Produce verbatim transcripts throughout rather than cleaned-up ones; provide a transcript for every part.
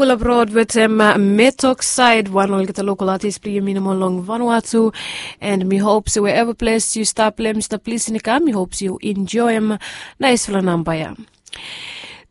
Pulap rod wetem metok said wan olgeta lokal atis blong yumi nomo long vanua tu. And mi hop se wherever ples yu stap lem yu stap lisin i kam mi hop se yu enjoim naispela namba ya.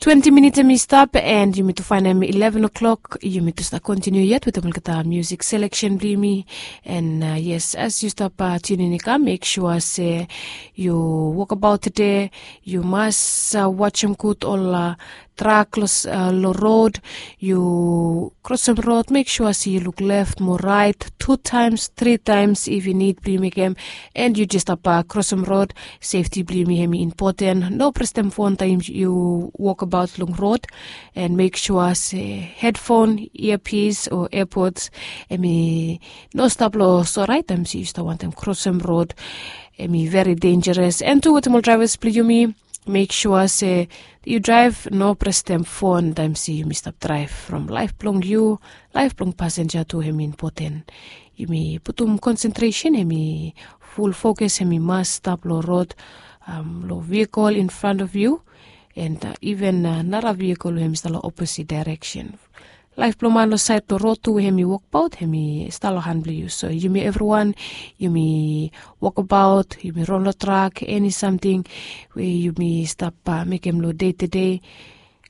Twenti minit em i stap and yumi tu fainem ileven o'clock yumi tu stap kontiniu yet wetem olgeta musik seleksen blong yumi. And uh, yes, as yu stap uh, tunin i kam mek sua se yu wokabaut tede yu mas uh, wasim gud ol uh, trak long rod. Yu krosim rod mek sua se yu luk left mo rait tu taims tri taims if yu nid blong yu mekim. And yu jes stap krosim rod. Sefti blong yumi hem i impoten no prestem fon taim yu wokabaut long rod. And mek sua se hedfon iapis o epods hem i no stap long sorait taim se yu stap wantem krosim rod. Hem i veri denjeres and tu wetem ol draivas blong yumi mek sua se yu draiv no prestem fon taim se yumi stap draiv from laif blong yu. Laif blong pasenja tu hem i impoten. Yumi putum konsentresen hem i ful fokus hem i mas stap long rod long vehikel in front of yu. And uh, even uh, nara vehikel we hem i stap long oposit daireksen. Laif blong man long sait long rod tu we hem i wokbaut hem i stap long han blong yu so yumi evriwan yumi wokabaut yumi ron long trak eni samting we yumi stap uh, mekim long dei tedei.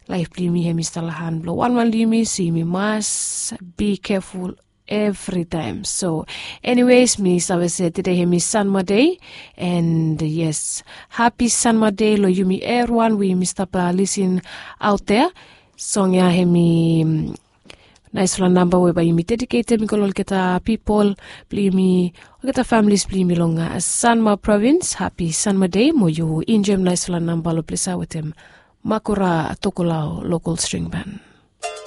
Laif blong yumi hem i stap long han blong wanwan long yumi so yumi mas bi keful. Evritaim so eniwes mi save se tede hem i sanma dei. And yes, hapi sanma dei long yumi evriwan we yumi stap lisin aut dea. Song ya hem i naispela namba we bai yumi dediketem i go long olgeta pipol blong yumi olgeta familis blong yumi long sanma provins hapi sanma dei mo yu enjoim naispela namba long plesa wetem makura tokolau lokal string ban.